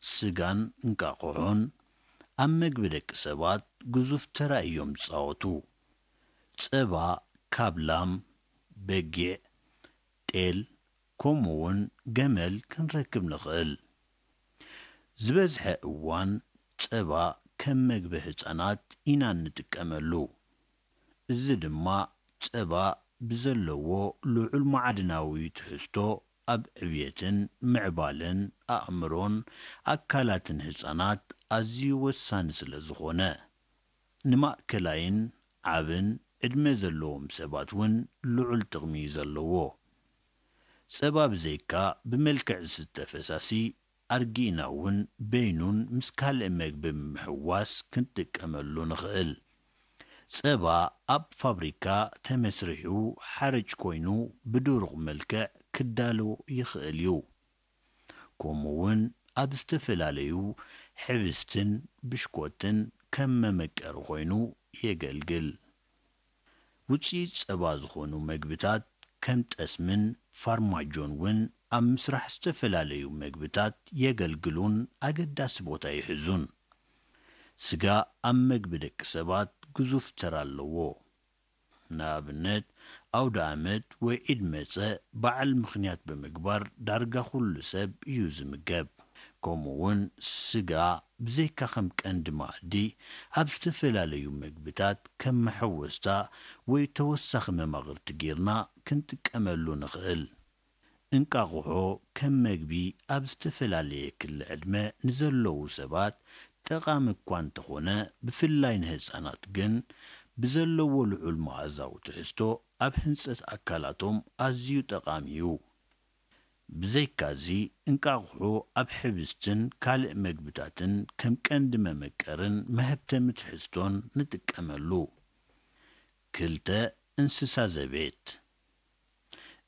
ስጋን እንቃቑሖን ኣብ መግቢ ደቂ ሰባት ግዙፍ ተራ እዮም ዝጻወቱ። ጸባ ካብ ላም፣ በጊዕ፣ ጤል፣ ከምኡውን ገመል ክንረክብ ንኽእል። ዝበዝሐ እዋን ጸባ ከም መግቢ ህጻናት ኢና እንጥቀመሉ። እዚ ድማ ጸባ ብዘለዎ ልዑል ማዕድናዊ ትሕዝቶ ኣብ ዕብየትን ምዕባለን ኣእምሮን ኣካላትን ህጻናት ኣዝዩ ወሳኒ ስለ ዝኾነ፣ ንማእከላይን ዓብን ዕድመ ዘለዎም ሰባት እውን ልዑል ጥቕሚ እዩ ዘለዎ። ጸባ ብዘይካ ብመልክዕ ዝስተ ፈሳሲ ኣርጊእና እውን በይኑን ምስ ካልእ መግቢ ብምሕዋስ ክንጥቀመሉ ንኽእል። ጸባ ኣብ ፋብሪካ ተመስሪሑ ሓርጭ ኮይኑ ብድሩቕ መልክዕ ክዳሎ ይኽእል እዩ። ከምኡ እውን ኣብ ዝተፈላለዩ ሕብስትን ብሽኮትን ከም መመቀሪ ኮይኑ የገልግል። ውፅኢት ጸባ ዝኾኑ መግብታት ከም ጠስምን ፋርማጆን እውን ኣብ ምስራሕ ዝተፈላለዩ መግብታት የገልግሉን ኣገዳሲ ቦታ ይሕዙን። ስጋ ኣብ መግቢ ደቂ ሰባት ግዙፍ ተራ ኣለዎ። ንኣብነት፣ ኣውደ ኣመት ወይ ዒድ መጸ በዓል ምኽንያት ብምግባር ዳርጋ ኩሉ ሰብ እዩ ዝምገብ። ከምኡ እውን ስጋ ብዘይካ ከም ቀንዲ መኣዲ ኣብ ዝተፈላለዩ መግብታት ከም መሐወስታ ወይ ተወሳኺ መማቕርቲ ጌርና ክንጥቀመሉ ንኽእል። እንቃቑሖ ከም መግቢ ኣብ ዝተፈላለየ ክሊ ዕድመ ንዘለዉ ሰባት ጠቓሚ እኳ እንተኾነ፣ ብፍላይ ንህጻናት ግን ብዘለዎ ልዑል መኣዛዊ ትሕዝቶ ኣብ ህንጸት ኣካላቶም ኣዝዩ ጠቓሚ እዩ። ብዘይካዚ፣ እንቃቑሖ ኣብ ሕብስትን ካልእ መግብታትን ከም ቀንዲ መመቀርን መሀብተሚ ትሕዝቶን ንጥቀመሉ። ክልተ፣ እንስሳ ዘቤት።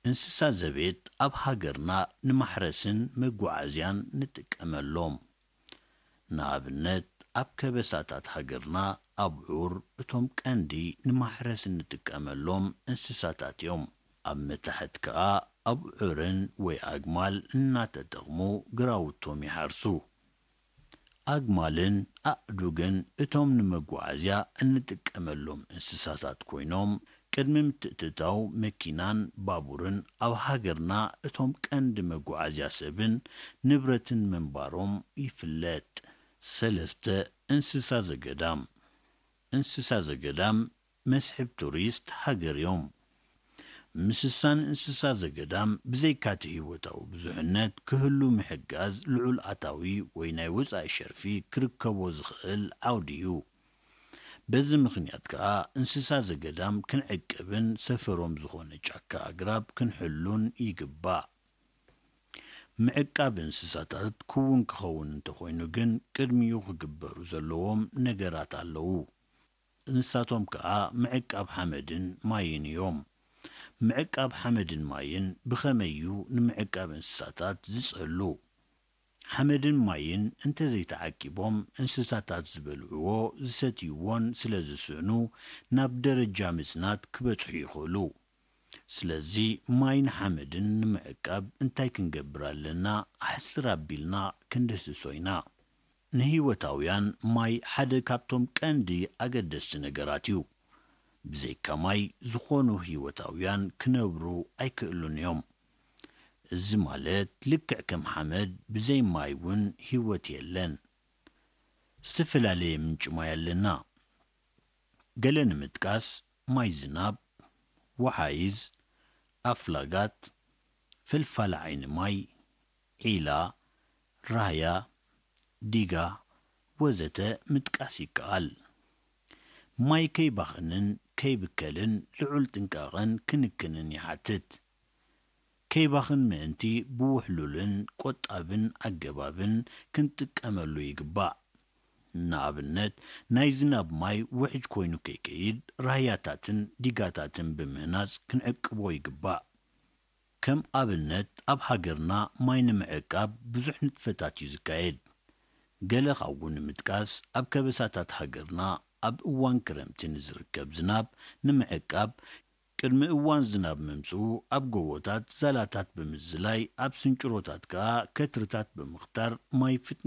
እንስሳ ዘቤት ኣብ ሃገርና ንማሕረስን መጓዓዝያን ንጥቀመሎም። ንኣብነት፣ ኣብ ከበሳታት ሃገርና ኣብዑር እቶም ቀንዲ ንማሕረስ እንጥቀመሎም እንስሳታት እዮም። ኣብ መታሕት ከኣ ኣብዑርን ወይ ኣግማል እናተጠቕሙ ግራውቶም ይሓርሱ። ኣግማልን ኣእዱግን እቶም ንመጓዓዝያ እንጥቀመሎም እንስሳታት ኮይኖም፣ ቅድሚ ምትእትታው መኪናን ባቡርን ኣብ ሃገርና እቶም ቀንዲ መጓዓዝያ ሰብን ንብረትን ምንባሮም ይፍለጥ። ሰለስተ፣ እንስሳ ዘገዳም። እንስሳ ዘገዳም መስሕብ ቱሪስት ሃገር እዮም። ምስሳን እንስሳ ዘገዳም ብዘይካቲ ህይወታዊ ብዙሕነት ክህሉ ምሕጋዝ ልዑል ኣታዊ ወይ ናይ ወጻኢ ሸርፊ ክርከቦ ዝኽእል ዓውዲ እዩ። በዚ ምኽንያት ከኣ እንስሳ ዘገዳም ክንዕቅብን ሰፈሮም ዝኾነ ጫካ ኣግራብ ክንሕሉን ይግባእ። ምዕቃብ እንስሳታት ክውን ክኸውን እንተኾይኑ ግን ቅድሚኡ ክግበሩ ዘለዎም ነገራት ኣለዉ። ንሳቶም ከኣ ምዕቃብ ሓመድን ማይን እዮም። ምዕቃብ ሓመድን ማይን ብኸመይ እዩ ንምዕቃብ እንስሳታት ዝጸሉ? ሓመድን ማይን እንተዘይተዓቂቦም እንስሳታት ዝበልዕዎ ዝሰትይዎን ስለ ዝስእኑ ናብ ደረጃ ምጽናት ክበጽሑ ይኽእሉ። ስለዚ ማይን ሓመድን ንምዕቃብ እንታይ ክንገብር ኣለና? ኣሕጽር ኣቢልና ክንድህስሶ ኢና። ንህይወታውያን ማይ ሓደ ካብቶም ቀንዲ ኣገደስቲ ነገራት እዩ። ብዘይካ ማይ ዝኾኑ ህይወታውያን ክነብሩ ኣይክእሉን እዮም። እዚ ማለት ልክዕ ከም ሓመድ ብዘይ ማይ እውን ህይወት የለን። ዝተፈላለየ ምንጪ ማይ ኣለና። ገለ ንምጥቃስ ማይ ዝናብ፣ ወሓይዝ፣ ኣፍላጋት፣ ፈልፋሊ ዓይኒ ማይ፣ ዒላ፣ ራህያ፣ ዲጋ ወዘተ ምጥቃስ ይከኣል። ማይ ከይባኽንን ከይብከልን ልዑል ጥንቃቐን ክንክንን ይሓትት። ከይባኽን ምእንቲ ብውሕሉልን ቆጣብን ኣገባብን ክንጥቀመሉ ይግባእ። ንኣብነት፣ ናይ ዝናብ ማይ ውሕጅ ኮይኑ ከይከይድ ራህያታትን ዲጋታትን ብምህናጽ ክንዕቅቦ ይግባእ። ከም ኣብነት፣ ኣብ ሃገርና ማይ ንምዕቃብ ብዙሕ ንጥፈታት እዩ ዝካየድ። ገለ ካብኡ ንምጥቃስ፣ ኣብ ከበሳታት ሃገርና ኣብ እዋን ክረምቲ ንዝርከብ ዝናብ ንምዕቃብ፣ ቅድሚ እዋን ዝናብ ምምጽኡ ኣብ ጎቦታት ዛላታት ብምዝላይ፣ ኣብ ስንጭሮታት ከኣ ከትርታት ብምኽታር ማይ ፍጥነት